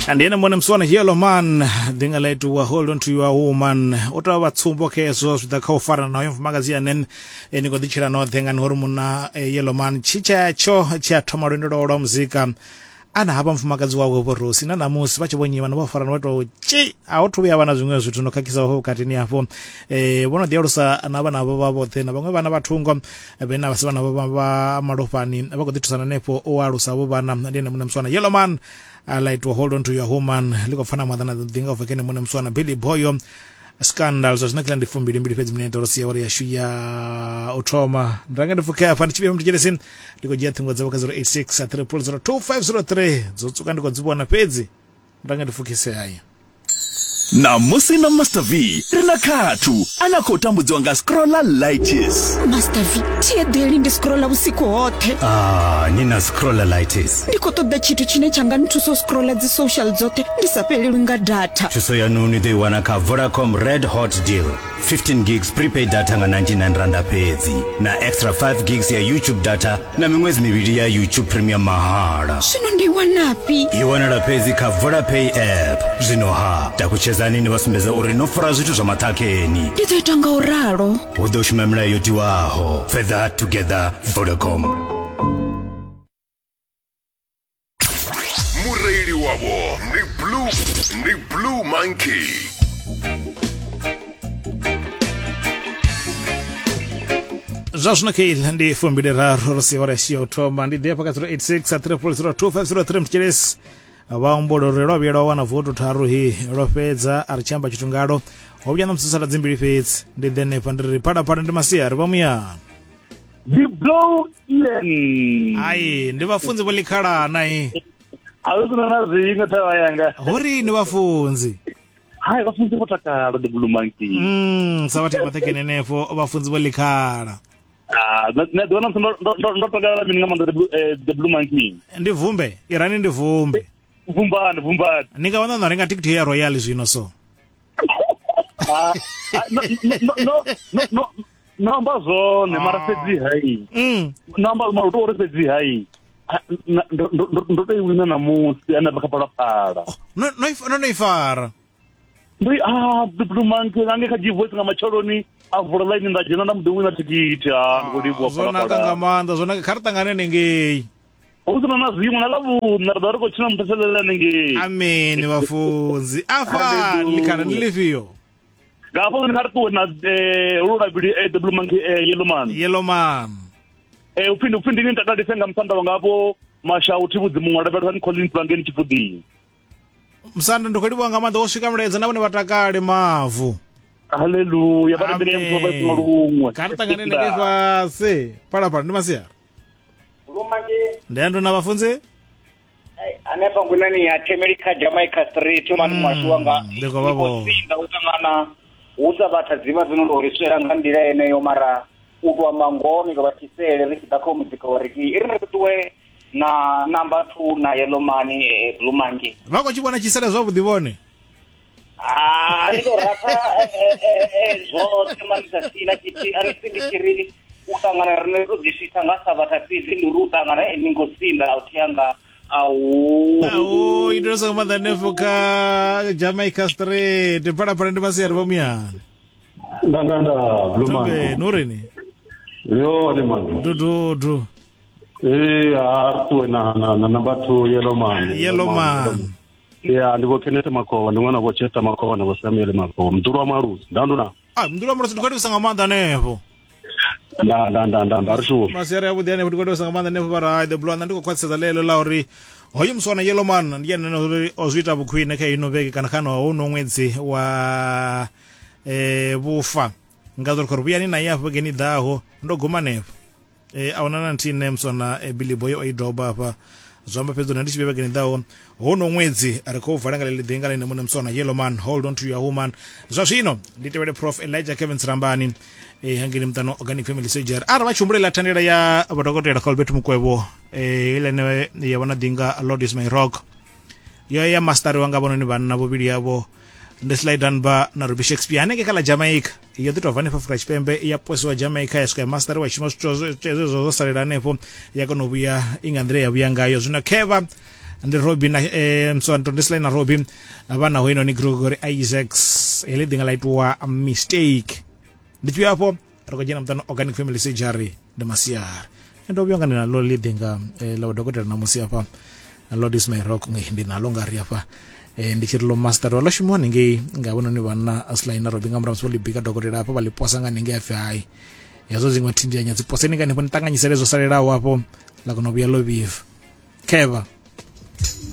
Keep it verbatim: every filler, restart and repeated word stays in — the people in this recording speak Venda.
And ene mone mswana Yellow Man dinga letu wa hold on to your woman o ta vha tsumbo khezwo zwi ḓa kha u fara nayo mfumakadzi ane ni khou ḓi tshila noṱhe nga uri munna Yellow Man tshitshatsho tshi a thoma lwendo lwawe lwa muzika ana hafha mfumakadzi wawe vho Rosi na namusi vha tshi vho nyima vho farana vha to tshi a ho thuvhuya vha na zwiṅwe zwithu no khakhisa ho vhukatini hafho eh vho no ḓi alusa na vhana vho vha vhoṱhe na vhaṅwe vhana vha thungo vhe na vhasi vhana vha vha malofhani vha khou ḓi thusana hanefho o alusa vho vhana ndi ene muṋe muswana Yellow Man. I like to hold on to your woman liko fana mwadana dinga uvekene mune mswana Billy Boyo scandal zwa zwino ndi fumbili mbili fhedzi minete ro siya uri yashu ya u thoma ndanga ndi fuke afha ndi tshi vhuya mutshilesi ndi khou dzhia ṱhingo dzavho kha zero eight six three zero two five zero three dzo tsuka ndi khou dzi vhona fhedzi ndanga ndi fukise haya. Namusi na Master V ri na khathu ana khou tambudziwa nga scrollalitis. Master V, thi eḓeli ndi scrolla vhusiku hoṱhe. Ah, ni na scrollalitis. Ndi khou ṱoḓa tshithu tshine tsha nga nthusa u scrolla dzi social dzoṱhe ndi sa fhelelwi nga data. Thuso ya ni ḓo i wana kha Vodacom Red Hot Deal. fifteen gigs prepaid data nga ninety-nine randa fhedzi na extra five gigs ya YouTube data na miṅwedzi mivhili ya YouTube Premium mahala. Zwino ndi wanafhi? I wanala fhedzi kha Vodapay app. Zwino ha takutshedzani ni vha sumbedza uri no fara zwithu zwa maṱhakheni. Ndi ḓo ita nga u ralo. Hu ḓo shuma milayo yo tiwaho. Further together, Vodacom. Mureili wavho ndi Blue, ndi Blue Monkey. Zwa zwino khe ndi fumbili raru ro siya uri ya u thoma ndi ḓi hafha kha zero eight six three zero two five zero three mutshilesi vha humbula uri lwa vhuya lwa wana voto tharu hi lwo fhedza a ri tshi amba tshithu ngalo ho vhuya na musi sala dzimbili fhedzi ndi ḓe hanefha ndi ri phalaphala ndi masiari vha muyani. Ndi Blow Ian. Ai ndi vhafunzi vho ḽikhalana i a hu sina na zwiṅwe thavha yanga hori ni vhafunzi. Hai vhafunzi vho takala the Blue Monkey. Mm sa vhathu vha ṱekene henefho vhafunzi vho ḽikhala. Ah, na ḓo na ndo ndo takala mini nga maanḓa the Blue Monkey. Ndi vumbe, irani ndi vumbe. Vumbani, vumbani. Ni nga wana na renga tikiti ya Royal zwino so. Ah, no no no no no amba zwone mara fhedzi hai. Mm. No amba mara to uri fhedzi hai. Ndo ndo tou wina namusi ana vha kha Phalaphala. No no no no ifara. Ndi ah the Blue Monkey ngange kha G-Voice nga matsheloni a vula line nda dzhena nda muḓi wina thikhithi ha ndi khou livhuwa Zwo naka nga maanḓa zwo naka kha ri ṱangane nengei. Hu sina na zwiṅwe na ḽavhuṋa ri ḓo ri khou tshina muthetshelele hanengei. Amen vhafunzi. Afha ḽikhala ndi ḽifhio? Nga hafho kha ri ṱuwe na lu lavhili the Blue Monkey Yellow Man. Yellow Man. Eh upfi ndi upfi ndi ni takalise nga musanda wanga hafho Mashau Thivhudzi muṅwe lavhelesani Collins vhangeni Tshifuḓini. Musanda ndi khou livhuwa nga maanḓa wo swika mulaedza na vhone vha takale mavu. Haleluya vha rembele muthu vha funa luṅwe. Kha ri ṱangane nengei fhasi. Phalaphala ndi masiari. Ndi ando na vhafunzi? Hanefha ngwinani ya Themeli kha Jamaica Street mani mwashu wanga. Ndi khou vha vhona. Sinda u ṱangana hu sa vhatha dzivha dzino ndo ri swela nga nḓila yeneyo mara u tou amba ngoho ni vha thisele ri tshi ḓa kha muzika wa ri i ri ṱuwe na number two na Yellow Man Blue Monkey. Vha khou tshi vhona tshisele zwavhuḓi vhone? Ah, ndi tou rafha zwoṱhe mani sa sina tshithihi a ri ndi tshi ri u ṱangana rine ro ḓi switha nga sabatha fhedzi ndi uri u ṱangana ni ngo sinda a u thianga au au ndo so maanḓa hanefho kha Jamaica Street. Phalaphala ndi masiari vha muyani. Nda nda nda Blue Monkey. Nurini? Yo ni man. Dudu. Eh a ṱuwe na na na number two Yellow Man. Yellow Man. Ya ndi vho Kenneth Makova ndi ṅwana vho Chester Makova na vho Samuel Makova mdulu wa Malusi. Nda ndo na. Ah mdulu wa Malusi ndi khou livhusa nga maanḓa hanefho. Nda nda nda nda nda ri shuwa. Masiari avhuḓi hanefho ndi khou livhusa nga maanḓa hanefho vha ri the Blue Man ndi khou khwaṱhisedza ḽeḽo ḽa uri hoyu muswana Yellow Man ndi ene uri o zwi ita vhukhwine kha ino vhege kana kha no hono ṅwedzi wa eh vhufa. Nga uri khori vhuyani naye afho vhegeni ḓaho ndo guma hanefho. Eh a huna na nthihi nṋe muswana Billy Boy o i doba hafha. Zwi amba fhedzi ndi tshi vhege vhegeni ḓaho hono ṅwedzi ri khou vala nga ḽeḽi ḓinga ḽine muṋe muswana Yellow Man hold on to your woman. Zwa zwino ndi tevhele Prof Elijah Kevin Tsirambani eh hangeni muṱano Organic Family Surgery arali vha tshi humbulela thandela ya vhadokotela Colbert Mukwevho eh ḽene ya vhona ḓinga Lord is my rock yo ya masteriwa nga vhononi vhanna vhuvhili yavho ndi Sly Dunbar na Ruby Shakespeare hanengei kha ḽa Jamaica yo ḓi tou bva hanefha Afrika Tshipembe ya posiwa Jamaica ya swika ya masteriwa shuma zwithu zwezwo zwo salela hanefho ya kona u vhuya i nga nḓila ya vhuya ngayo. Zwino khevha Ndi Robbie na eh msonto ndi Sly na Robbie vhana hoino ni Gregory Isaacs heḽi ḓinga ḽa itiwa mistake. Ndi tshi afho ri khou dzhena muṱani organic family surgery ndi masiari. Ndo vhuya nga ndi nalo ḽi ḓinga ḽa dokotela na musi afha Lord is my rock ndi nalo nga ri afha eh ndi tshi ri lo master ḽo shumiwa haningei nga vhononi vhanna Sly na Robbie nga murahu musi vho ḽi bika dokotela afho vha ḽi posa nga haningei afhi hai hedzo dziṅwe thindianya dzi poseni nga hanefho ni ṱanganyisele zwo salelaho afho ḽa kona u vhuya ḽo vhibva. Khevha.